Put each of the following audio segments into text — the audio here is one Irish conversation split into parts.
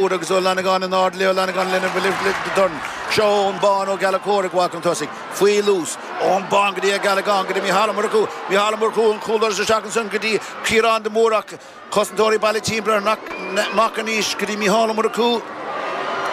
Agus Ó Fhlannagáin in airde le Ó Fhlannagáin lena dhorn. Seo Eoghan Bán Ó Gallchóir ag gabháil chun tosaigh. Faoi luas. Eoghan Bán go dtí Ó Gealacáin, go dtí Mícheál Ó Murchú. Mícheál Ó Murchú an cúldoras isteach ansan go dtí Ciarán de Mór ach cosantóirí bailithe timpeall air amach anois go dtí Mícheál Ó Murchú.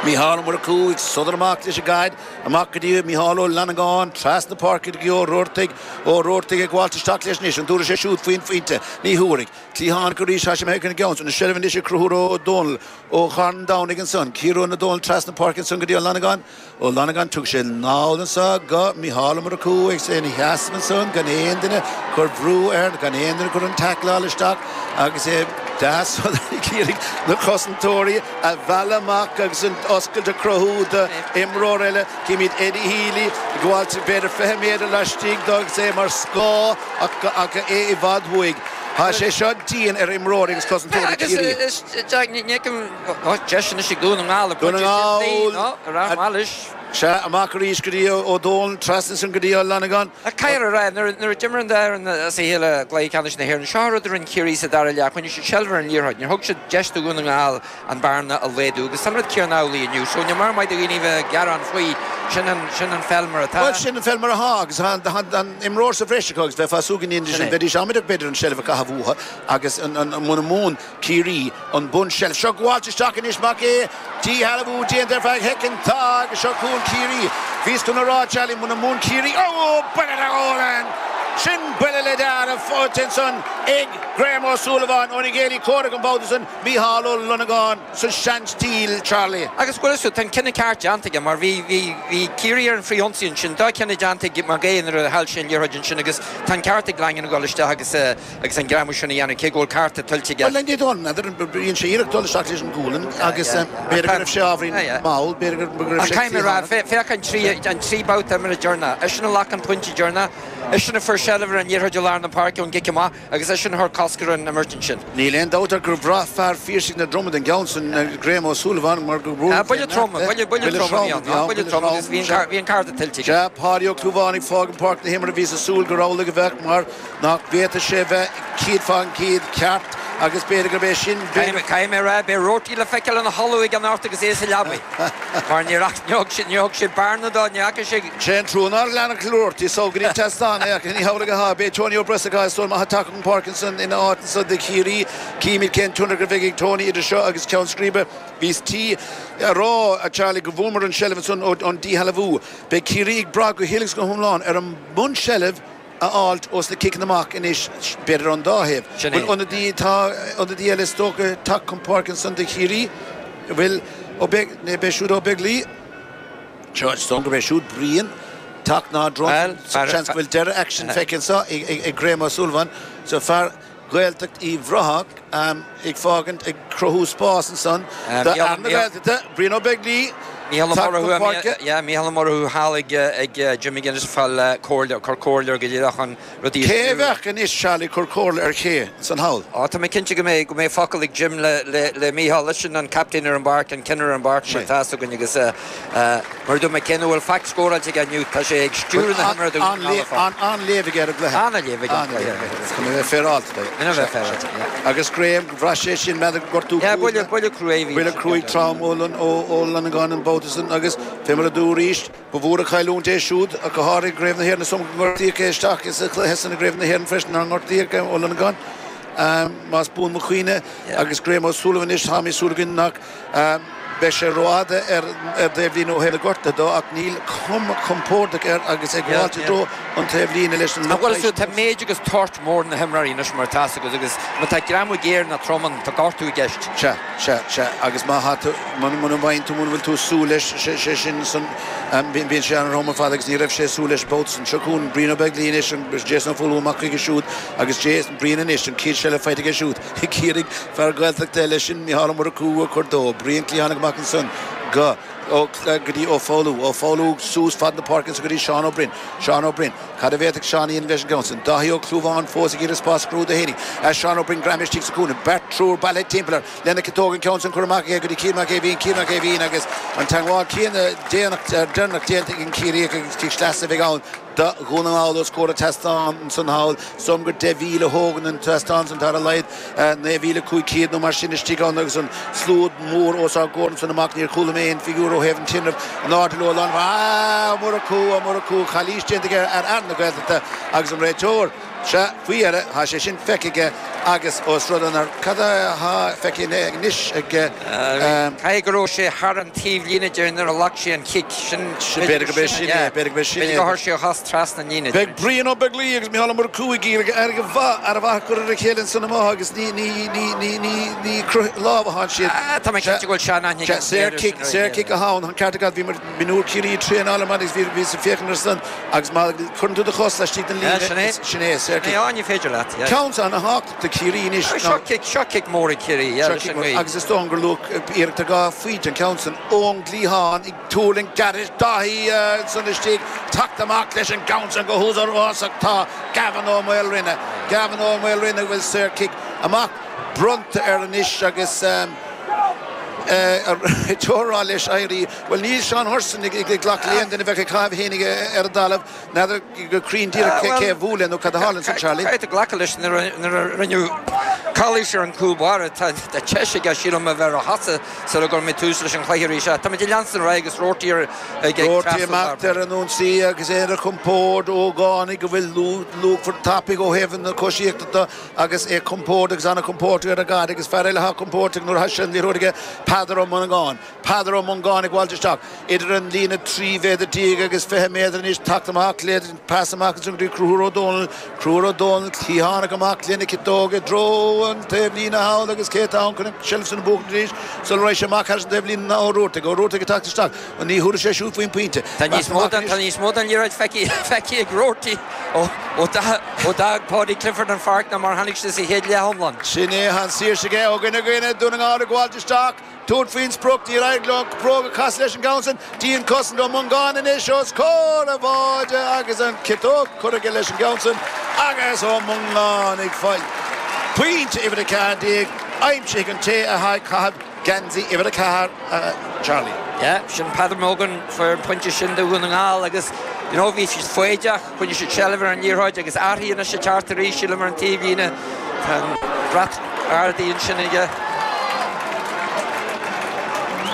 Mícheál Ó Murchú ag sodar amach leis an gcaid. Amach go dtí Mícheál Ó Fhlannagáin trasna páirce go dtí Ó Roartaigh. Ó Roartaigh ag gabháilt isteach leis anois. An dtabharfaidh sé siúd faoin phointe? Ní thabharfaidh. Cliathánach arís, tá sé imithe chun an gceann san. An seilbh anois ag Conchúr Ó Dónaill ó Charn Domhnaigh ansan. Ciarán Ó Dónaill trasna páirce ansan go dtí Ó Fhlannagáin. Ó Fhlannagáin, tugann sé anall anso go Mícheál Ó Murchú agus é ina sheasamh ansan gan aon duine cur bhrú air, gan aon duine cur an taicleáil isteach agus é deas ag iarraidh na cosantóirí a mhealladh amach agus an oscailt a chruthú do imreoir eile. Címid Eddie Healy ag gabháilt b'fhéidir 20 méadar laistigh dó agus é mar scáth ach é i bhfad uaidh. Tá sé seo dian ar imreoirí agus cosantóirí Chiarraí. Agus Jack, ní fheicim deis anois ag Dún na nGall. Dún na nGall. Sea, amach arís go dtí Ó Dónaill, trasna ansin go dtí Ó Fhlannagáin. Ach caithfear a rá, nuair a d'imir an dá fhoireann as a chéile i gcluiche ceannais na hÉireann, seo an rud a rinne Ciarraí sa dara leath, choinnigh siad seilbh ar an liathróid, níor thug siad deis do Dhún na nGall an bearna a laghdú agus tá an rud céanna amhlaidh inniu. So ní mór maith do dhaoine a bheith ag gearán faoi, sin an, sin an pheil mar atá. Bhuel, sin an pheil mar atá agus tá an imreoir sa bhreis acu agus bheifeá ag súil go ndéanfaidís sin, bheidís amaideach b'fhéidir an seilbh a chaitheamh uathu agus an, an, muna mbuann Ciarraí an bunseilbh seo gabháilt isteach anois Mac Aodha, díshealbhú déanta ar feadh shoicind, tá agus seo chugainn Ciarraí. Bhíos chun a rá, Charlie, muna mbuann Ciarraí, ó, buille le Ólan! Sin buille le dealramh faighte ansan ag Graham Ó Súilleabháin óna gcéilí comhraic an babhta san. Mícheál Ó Longáin sa seanstíl, Charlie. Agus bhfuil a fhios agat, tá an cinneadh ceart déanta aige mar bhí, bhí, bhí Ciarraí ar an frithionsaí ansin, dea-chinneadh déanta ag Mac Aodha nuair a chaill sé an liathróid ansin agus tá an ceart ag Langan a dhul isteach agus, agus an greamú sin a dhéanamh cé go bhfuil cárta tuillte aige. Bhuel, ní dóigh liom, n'fheadar, dhein sé iarracht dul isteach leis an gualainn agus b'fhéidir go raibh sé ábhairín mall, b'fhéidir go raibh sé Ach caithfidh mé a rá, féach an trí, an trí babhta imeartha deireanach, eisean a ghlac an pointe deireanach, eisean a fuair seilbh ar an liathróid i lár na páirce ón gcic amach, Agus eisean a chuir cosc ar an imirt ansin. Níl aon dabht ach gur bhraith fear Phiarsaigh na Dromad an gceann san, Graham Ó Súilleabháin, mar gur bhuail sé Buille trom, buille, buille trom a bhí ann, buille trom agus bhí an, bhí an cárta tuillte aige. Sea, Páidí Ó Clúmháin ag fágaint páirc na himeartha, bhíos ag súil gur amhlaidh a bheadh mar nach bhféadfadh sé bheith céad fán gcéad ceart agus b'fhéidir gurb é sin, b'fhéidir. Caithfidh mé a rá, beidh Roarty le feiceáil ina chodladh ag anocht agus é sa leabaidh mar níor, níor thug sé, níor thug sé bearna dó, ní fhaca sé. Sé an trua nár lean Roarty so go dtí an tseastán é ach ní hamhlaidh atá. Beidh Tony Ó Brosacáin is dóigh liom ag teacht chun páirce ansan ina áit anso do Chiarraí. Címid cén tionchar a bheidh ag Tony idir seo agus ceann scríbe. Bhíos tí a rá, a Charlie, go bhfuaireamar an seilbh ansan ón díshealbhú. Beidh Ciarraí ag brath go huile is go hiomlán ar an mbunseilbh a fháilt ós na ciceanna amach anois, b'fhéidir ón dá thaobh. Sin é. Bhfuil ionadaí, tá ionadaí eile is dócha ag teacht chun páirce ansan do Chiarraí. Bhfuil Ó Beag, ní b'é siúd Ó Beaglaoi? Seo, is dóigh gurb é siúd Brian teacht ná Bhuel, drong. Seans go bhfuil deireadh aicsin feicthe anseo ag Graham Ó Súilleabháin. So fear Ghaeltacht Uíbh Ráthach ag fágaint, ag cruthú spás ansan do fhear na Gaeltachta, Brian Ó Beaglaoi, Mícheál Ó teacht chun Murchú, páirce. yeah, Mícheál Ó Murchú thall ag Jim McGuinness ag fáil comhairle, ag cur comhairle air go díreach chun rudaí a Cé a stiúradh. bheadh anois, Charlie, ag cur comhairle ar ché ansan thall? Á, tá mé cinnte go mbeidh, go mbeidh focal ag Jim le, le, le Mícheál. Eisean an captaen ar an bpáirc, an ceannaire ar an bpáirc mar atá fhios againn agus mar a dúirt mé, cé nach bhfuil faic scóráilte aige inniu, tá sé ag stiúradh na himeartha do Dhún na nGall ar fad. An-léamh aige ar an gcluiche. An-léamh aige ar an gcluiche. Chun a bheith féaráilte de. Chun a bheith féaráilte, yeah. Agus Graham, bhraith sé sin, n'fheadar gortú Yeah, buille, buille cruaidh a bhí. Buille cruaidh trom ó Longáin an babhta san agus fé mar a dúradh arís, Ba mhór an chailliúint é siúd, ach go háirithe i gCraobh na hÉireann. Is dóigh liom gur gortaíodh é isteach sa chluiche san i gCraobh na hÉireann freisin, nár ngortaíodh é, Ó Longáin, más buan mo chuimhne. Agus Graham Ó Súilleabháin anois, tá súil againn nach mbeidh sé rófhada ar an taobhlíne ó thaobh na gortuithe dó, ach níl cuma compordach air agus é ag gabháilt i dtreo an taobhlíne leis an lucht Bhuel, tá méid agus toirt mór na himreoirí anois mar atá fhios agat agus má tá greamú géar ná trom ann, tá gortú i gceist. Sea. Sea, sea, agus má thá tú, muna, muna bhfaigheann tú, muna bhfuil tú ag súil leis, sé, sé sin san, bíonn sé an-throm ar fad agus ní raibh sé ag súil leis an babhta san. Seo chugainn Brian Ó Beaglaoi anois, an, Jason Ó Foghlú amach chuige siúd agus Jason, Brian anois, an chéad seilbh faighte aige siúd ag iarraidh fear Gaeltachta eile, sin Micheál Ó Murchú a chur dó. Brian cliathánach amach ansan go, ó, go dtí Ó Foghlú, Ó Foghlú suas fad na páirce ansan go dtí Seán Ó Broin, Seán Ó Broin. Cad a bhféadfadh Seán a dhéanamh leis an gceann san? Dáithí Ó Clúmháin fós ag iarraidh spás a chruthú dó fhéinig. As Seán Ó Broin greamaithe istigh sa chúinne. Beirt, triúr bailithe timpeall air. Lena chiotóg an ceann san curtha amach aige go dtí Cian Mac Aoibhín. Cian Mac Aoibhín agus an teagmháil céanna déanach, deireanach déanta ag an Ciarraíoch agus cic sleasa a bheidh ann. do Dhún na nGall os comhair an tseastáin ansan thall. Is dóigh liom gur 10,000 a thógann an tseastán san, tá ar a laghad 9,500 nó mar sin istigh ann agus an slua mór os ár gcomhair ansan amach. Níor chuala mé aon figiúr ó thaobh an tinrimh in airde leo lán. Ah, Ó Murchú, Ó Murchú, calaois déanta aige ar fhear na Gaeltachta agus an réiteoir. Sea, faoi dheireadh, tá sé sin feicthe aige agus ós rud é nár, cad atá feicthe anois aige? Caithfidh go raibh sé thar an taobhlíne de nuair a ghlac sé an chic. Sin, b'fhéidir gurb é sin é, b'fhéidir gurb é sin é. B'fhéidir gur chuir sé a chos trasna an líne. Beidh Brian Ó Beaglaoich agus Micheál Ó Murchú ag iarraidh aire mhaith, aire mhaith a chur ar a chéile ansan amuigh agus ní, ní, ní, ní, ní, ní ag croitheadh lámh atánn siad. Tá mé cinnte go bhfuil sean-aithne ag an Saor cic, saor cic atá ann, an ceart agat, bhí mé, Mionúr Ciarraí ag traenáil ar maidin agus bhí, bhíos ag féachaint air san agus má chuireann tú do chos laistigh den líne, Sin é. sin é, saor cic. Ní, ní féidir leat, yeah. Ceann ana-thábhachtach do Chiarraí anois ná. Seo cic, seo cic mór ag Ciarraí, yeah, Seo leis cic an mór ngaoth. agus is dóigh gur luach iarracht ar dhá phointe an ceann san ón gcliathán ag tuirlingt gairid Dáithí ansan istigh, teacht amach leis an gceann san go húdarásach tá Gavin Ó Maoilriona, Gavin Ó Maoilriona a bhfuil saor cic amach bronnta air anois agus. Réiteoir ag rá leis éirí. Bhuel, níl Seán Hurson ag glacadh le aon duine a bheadh ag caitheamh a fhéinig ar an dtalamh. N'fheadar go cruinn díreach cé a bhuail é nó cad a tharla ansin, Charlie. Caithfidh tú glacadh leis nuair a rinneadh calaois ar an gcúl báire. Tá deis aige, sílim, a bheith ar a chosa sula gcuirfimid tús leis an chluiche arís. Táimid ag leanstan ar aghaidh agus Roarty ag Roarty ag imeacht ar an ionsaí agus é ar a chompord, ógánaigh a bhfuil luachmhar tapaidh ó thaobh na coisíochta de. Agus é compordach agus an-chompordach ar an gcaid agus fear eile atá compordach nuair atá sé an liathróid aige, Peadar Ó Mongáin. Peadar Ó Mongáin ag gabháilt isteach idir an líne 13 mhéadar agus 20 méadar anois, teacht amach le pas amach ansin go dtí Conchúr Ó Dónaill. Conchúr Ó Dónaill, cliathánach amach lena chiotóg i dtreo an taobh líne thall agus cé atá ann chun an tseilbh san a bhuachaint arís sula raghaidh sé amach thar an taobh líne ná Ó Ruartaigh. Ó Ruartaigh ag teacht isteach. Ní thabharfaidh sé siúd faoin bpointe. Tá níos mó den, tá níos mó den liathróid feicthe ag Roarty ó ó d'fhág Paudie Clifford an pháirc ná mar a tháinig sé sa chéad leath iomlán. Sin é, tá an saoirse aige ó dhuine go duine, Dún na nGall ag gabháilt isteach, tabhairt faoin sprioc, níor éirigh leo an bróg a chasadh leis an gceann san, dianchosaint Ó Mongáin anois os comhair a bháide agus an chiotóg curtha aige leis an gceann san agus Ó Mongáin ag fáil pointe uimhir 14, aimsithe ag an té atá ag caitheamh Geansaí uimhir 4, a Charlie. Yeah, sin Peadar Mogan fuair an pointe sin do Dhún na nGall agus you know bhí siad foighdeach, choinnigh siad seilbh ar an liathróid agus athraithe anois ag teacht arís sílim ar an taobhlíne. Tá an brat ardaithe ansin aige.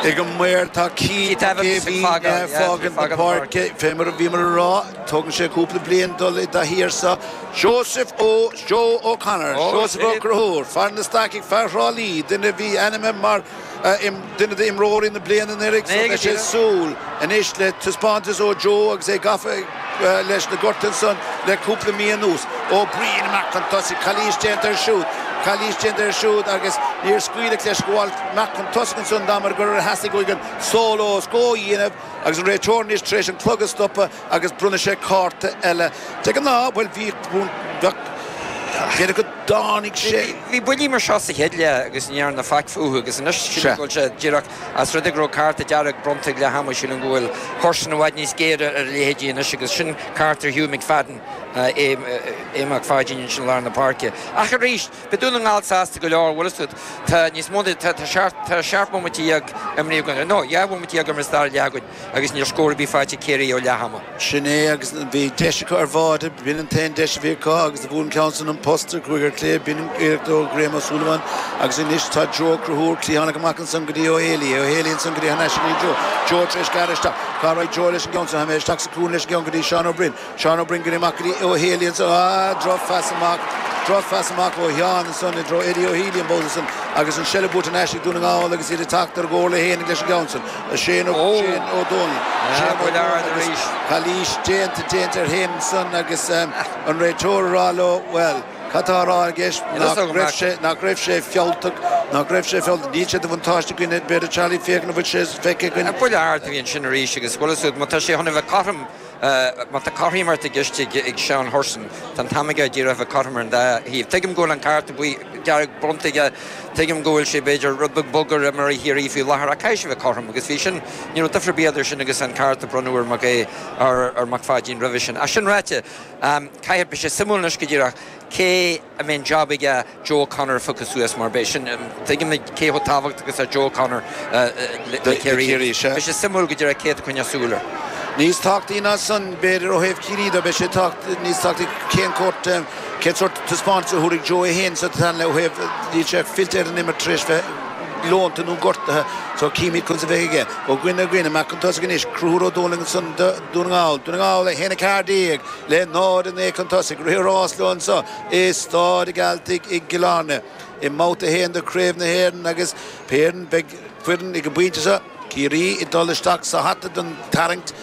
Ag an maor tá Keith Keith Evans ag Evans fágáil, ag yeah, fágaint na fágáil na páirce. Fé mar a bhíomar a rá, tógann sé cúpla bliain dul i dtaithí air seo. Joseph Ó Joe O'Connor, Seosamh Ó Conchúir, fear na Stacaigh, fear Thrá Lí, duine a bhí ainmnithe mar duine d'imreoirí na bliana anuraidh so beidh sé ag súil anois le taispeántas ó Joe agus é gafa leis na gorta ansan le cúpla mí anuas. Ó Briain amach chun tosaigh, calaois déanta air siúd, calaois déanta air siúd agus níor scaoileadh leis gabháil amach chun tosaigh ansan dá mba gur theastaigh uaidh an solo is go a dhéanamh agus an réiteoir anois tar éis an clog a stopadh agus bronnfaidh sé cárta eile. De ghnáth, bhuel, bhí, bheadh, b'fhéidir go dtáinig sé. Bhí buillí mar seo sa chéad leath agus ní dhearnadh faic fúthu agus anois sílim go bhfuil sé díreach as rud é go raibh cárta dearg bronnta ag leath ama sílim go bhfuil Hurson i bhfad níos géire ar a leithéidí anois agus sin cárta ar Hugh McFadden, Aodh Mac Pháidín ansin i lár na páirce. Ach arís, beidh Dún na nGall sásta go leor, bhfuil fhios agat, tá níos mó ná, tá 17 bhomaite imrithe againn, no, 12 bhomaite imithe sa dara leath againn. Agus níl scór ar bith faighte ag Ciarraí ó leath ama. Sin é agus bhí deis acu ar bháide, b'in an t-aon deis a bhí acu agus do bhuail an ceann san an posta, chuaigh ar clé, b'in an iarracht ó Graham Ó Súilleabháin agus anois tá Joe Ó Conchúir, cliathánach amach ansan go dtí Ó Héalaí, Ó Héalaí ansan go dtí thar n-ais go dtí Joe, Joe tar éis gearradh isteach, cá raghaidh Joe leis an gceann san, tá mé isteach sa cúinne leis an gceann go dtí Seán Ó Broin, Seán Ó Broin go dtí amach go dtí Ó Héalaí ansan, ah, drochphas amach, drochphas amach ó Sheán ansan i dtreo Eddie Ó Healy an babhta san agus an seilbh buaite thar n-ais ag Dún na nGall agus iad ag teacht ar a gcomhairle fhéinig leis an gceann san. Shane Ó Shane Ó Dónaill. Shane Ó Dónaill agus calaois déanta déanta ar Shane ansan agus an réiteoir ag rá leo, bhuel, cad tá á rá i gceist, nach raibh sé, nach raibh sé fealltach, nach raibh sé fealltach, níl sé de bhuntáiste againn, b'fhéidir Charlie féachaint an bhfuil sé feicthe againn. Buille ard a bhí ansin arís agus bhfuil fhios agat, má tá sé chun a bheith cothrom, Má tá cothromaíocht i gceist ag Seán Hurson, tá an t-am aige díreach a bheith cothrom ar an dá thaobh. Tuigim go bhfuil an cárta buí, dearg bronnta aige, tuigim go bhfuil sé b'fhéidir rud beag bog ar imreoirí Chiarraí faoi láthair ach caithfidh sé bheith cothrom agus bhí sin, ní raibh difear ar bith idir sin agus an cárta a bronnadh ar Mac Aodh, ar Mac Pháidín roimhe sin. Ach sin ráite, caithfidh, beidh sé suimiúil anois go díreach cé a mbeidh an job aige Joe O'Connor a phiocadh suas mar beidh sin, tuigimid cé chomh tábhachtach is atá Joe O'Connor le Ciarraí. Beidh sé suimiúil go díreach cé atá ag coinneáil súil air. Níos tábhachtaí ná san, b'fhéidir, ó thaobh Chiarraí de, beidh sé níos tábhachtaí cén córt, cén sórt taispeántas a thabharfaidh Joe é féin sa tarna leath ó thaobh, níl sé fillte ar an imirt tar éis bheith leonta nó gortaithe so címid conas a bheidh aige. Ó Guinn Ó Guinn amach chun tosaigh anois, Conchúr Ó Dónaill ansan do Dhún na nGall, Dún na Ngall 1-14 le 0-9 chun tosaigh, rith an rás leo anso i Stáid an Ghealtaigh i gCill Airne i mbabhta 1 de Chraobh na hÉireann agus Péireann, beidh foireann ag an bpointe seo. Ciarraí ag dul isteach sa hata don tarraingt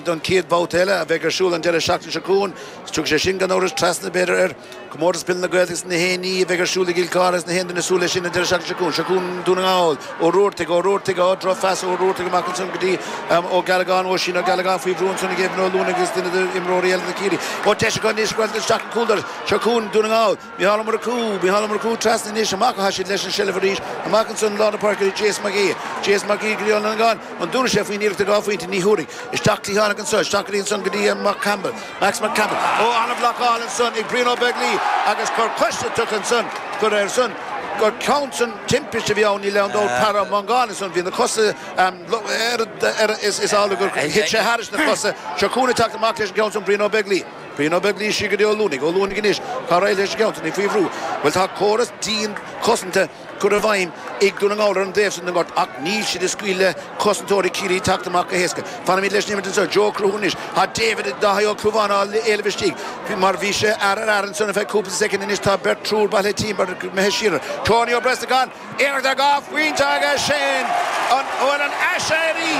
don chéad bhabhta eile a bheidh ar siúl an deireadh seachtaine seo chugainn. Tiocfaidh sé sin gan amhras trasna, b'fhéidir, ar Chomórtas Peile na Gaeltachta na hAon Ní a bheidh ar siúl i gCill Chartha agus na haon duine ag súil leis sin an deireadh seachtaine seo chugainn. Seo chugainn Dún na nGall, Ó Ruartaigh, Ó Ruartaigh, á, drochphas ó Ruartaigh amach ansan go dtí Ó Gealagáin, Oisín Ó Gealagáin faoi bhrú ansan ag Evan Ó Luanaigh agus duine d'imreoirí eile na Ciarraí. Ó, deis acu anois dul isteach an cúldoras. Seo chugainn Dún na nGall. Micheál Ó Murchú, Micheál Ó Murchú trasna anois, amach atá siad leis an seilbh arís, amach ansan lár na páirce go dtí Jason Mac Aoidh, Jason Mac Aoidh go dtí Ó Longáin, an dtabharfaidh sé faoin iarracht ar dhá phointe? Ní thabharfaidh. Isteach cliathánach anso, isteach go dtí ansan go dtí Mac Campbell, Max Mac Campbell. Ó, an-bhlocáil ansan ag Brian Ó Beaglaoi agus cor coise tugtha ansan gur air san, gur ceann san timpiste a bhí ann, níl aon dabht, Peadar Ó Mongáin ansan, bhí na cosa ar, ar, is amhlaidh gur thit sé thairis na cosa. Seo chugainn ag teacht amach leis an gceann san, Brian Ó Beaglaoi. Brian Ó Beaglaoi siar go dtí Ó Luanaigh. Ó Luanaigh anois. Cá raghaidh leis an gceann san? É faoi bhrú. Bhuel tá córas dian cosanta curtha i bhfeidhm ag Dún na nGall ar an dtaobh san den ngort ach níl siad ag scaoileadh le cosantóirí Chiarraí teacht amach go héasca. Fanfaimid leis an imirt anseo. Joe Ó Conchúir anois. Tá David Dáithí Ó Clúmháin á éileamh istigh mar bhí sé fhear ar fhear ansan ar feadh cúpla soicind anois tá beirt triúr bailithe timpeall imithe siar air. Tony Ó Brosnacháin. Iarracht ar dhá phointe agus sin an bhfuil an aiséirí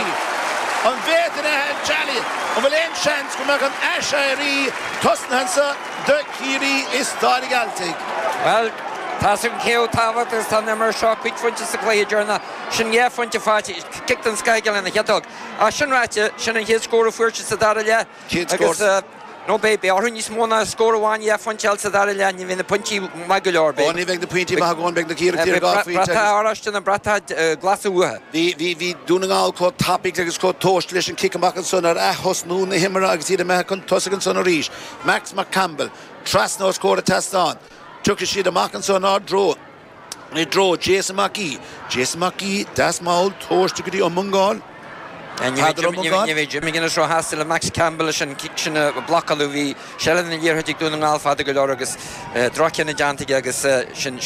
an bhféadfainn é a Charlie an bhfuil aon seans go mbeadh an aiséirí tosnaithe anseo do Chiarraí i Stáid an Ghealtaigh? Bhuel, tá's agam cé chomh tábhachtach is atá an imirt seo, cúig phointe sa chluiche deireanach, sin dhá phointe faighte, cic den scoth aige lena chiotóg. Ach sin ráite, sin an chéad scór a fuair siad sa dara leath. Chéad scór. Nó beidh, beidh orthu níos mó ná scór amháin, dhá phointe a fháil sa dara leath, ní bheidh na pointí maith go leor. Ó, ní bheidh na pointí maith againn, beidh na hiarrachtaí ar dhá phointe agus. Bratach oráiste nó bratach glas uathu. Bhí, bhí, bhí Dún na nGall chomh tapaidh agus chomh tomhaiste leis an cic amach ansan ar ath-thosnú na himeartha agus iad imithe chun tosaigh ansan arís. Max McCampbell, trasna os comhair an tseastáin. Tiocfaidh siad amach anso inár dtreo. I dtreo Jason Mac Aoidh. Jason Mac Aoidh, deas mall, tomhaiste go dtí Ó Mongáin. Peadar Ó Mongáin. Ní bheidh Jim McGuinness róshásta le Max Campbell leis an cic sin a bhlocáladh. Bhí seilbh na liathróide ag Dún na nGall fada go leor agus droch-chinneadh déanta aige agus sin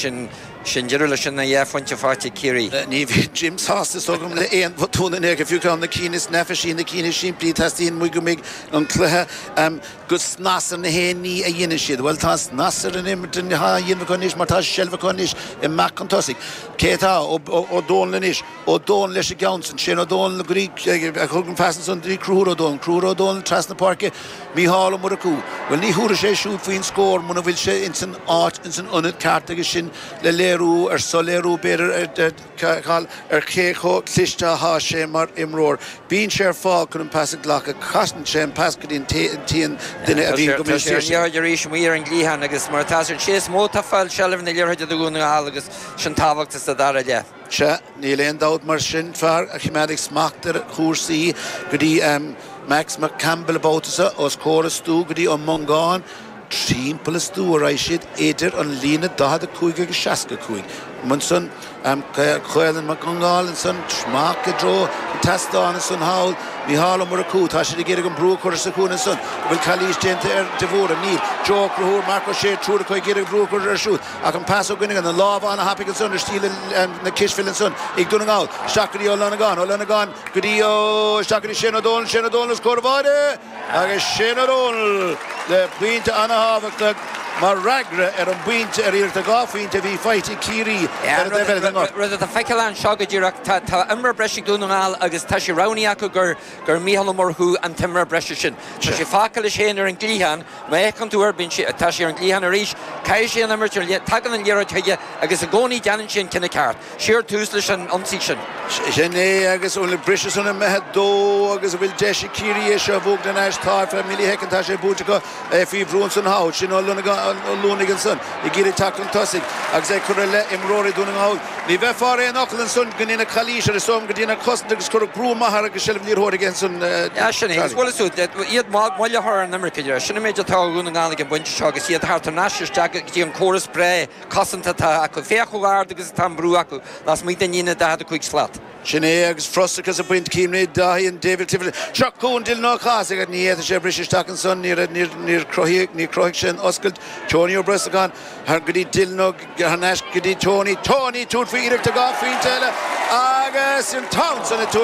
sin deireadh leis an dhá phointe faighte ag Ciarraí. Ní bheidh Jim sásta is dóigh liom le aon bhotún in aon chor, fiú ceann na cinn is neafaisí, na cinn is simplí. Teastaíonn uaidh go mbeidh an cluiche go snas ar na haon ní a dhéanann siad. Bhuel, tá snas ar an imirt atá á dhéanamh acu anois mar tá seilbh acu anois i mbealach chun tosaigh. Cé atá? Ó Dónaill anois. Ó Dónaill leis an gceann san. Shane Ó Dónaill go dtí, a thug an pas ansan go dtí Conchúr Ó Dónaill. Conchúr Ó Dónaill trasna páirce. Mícheál Ó Murchú. Bhuel, ní thabharfaidh sé siúd faoin scór muna bhfuil sé ins an áit, ins an ionad ceart agus sin le léiriú ar soiléiriú b'fhéidir ar, Cathal, ar cé chomh cliste atá sé mar imreoir. Bíonn sé ar fáil chun an pas a ghlacadh. Casann sé an pas go dtí an t-aon duine a bhíonn go minic saor. Tá sé ar an liathróid arís amuigh ar an gcliathán agus mar atá sé is mó atá ag fáil seilbh na liathróide do Dhún na nGall agus sin tábhachtach sa dara leath. Sea, níl aon dabht mar sin, fear a choimeádfaidh smacht ar chúrsaí go dtí Max McCampbell an babhta seo, os comhair an stua go dtí Ó Mongáin. Timpeall an stua a raghaidh siad idir an líne 45 agus 65. Ansan Caolán Mac Congáil ansan amach i dtreo an tseastáin ansan thall. Mícheál Ó Murchú, tá siad ag iarraidh an brú a chur sa chúinne ansan. An bhfuil calaois déanta ar de Bhúra? Níl. Joe Ó Conchúir, Marc Ó Sé, triúr acu ag iarraidh an brú a chur air siúd. Ach an pas ó Ghuinneagan, an lámh an-thapaidh ansan ar stíl na cispheile ansan ag Dún na nGall. Isteach go dtí Ó Longáin, Ó Longáin go dtí Ó, isteach go dtí Shane Ó Dónaill, Shane Ó Dónaill os comhair an bháide! Agus Shane Ó Dónaill le pointe an-thábhachtach mar fhreagra ar an bpointe, ar iarracht ar dhá phointe a bhí faighte ag Ciarraí ar an dtaobh eile den ngort. Rud atá feiceáil anseo go díreach, tá imreoir breise ag Dún na nGall agus tá sé roghnaithe acu gur gur Mícheál Ó Murchú an t-imreoir breise sin. Tá sé fágtha leis féin ar an gcliathán, má fhéachann tú air, bíonn sé, tá sé ar an gcliathán arís, caithfidh sé an imirt ar, tagann an liathróid chuige agus i gcónaí déanann sé an cinneadh ceart. Siar tús leis an ionsaí sin. Sin é agus an bhfuil an briseadh san imithe dó agus an bhfuil deis ag Ciarraí é seo a bhuachan ar ais? Tá ar feadh millishoicind tá sé buaite acu. É faoi bhrú ansan thall. Sin Ó Longáin. Luanaigh ansan ag iarraidh teacht chun tosaigh agus é curtha i leith imreoirí Dhún na nGall. Ní bheifeá ar aon fhocal ansan go ndéanadh calaois air is dóigh liom go ndéanadh cosaint agus cuireadh brú maith air agus seilbh liathróide aige ansan. Yeah, sin é. Agus bhuel is iad moill a chur ar an imirce. Sin an méid atá ó Dhún na nGall ag an bpointe seo agus iad thar n-ais isteach go dtí an córas breá cosanta atá acu. Féach chomh ard agus atá an brú acu lasmuigh den líne 45 slat. Sin é agus frustrachas ag baint cinn Dáithí and David Clifford. Seo chugainn Dylan Ó Cathasaigh ach ní fhéadfaidh sé briseadh isteach ansan, níor níor chruthaigh níor chruthaigh sé an oscailt. Tony Ó Brosnacháin thar go dtí Dylan Ó thar n-ais go dtí Tony. Tony tabhairt faoi iarracht dhá phointe eile agus an t-am san ag tabhairt.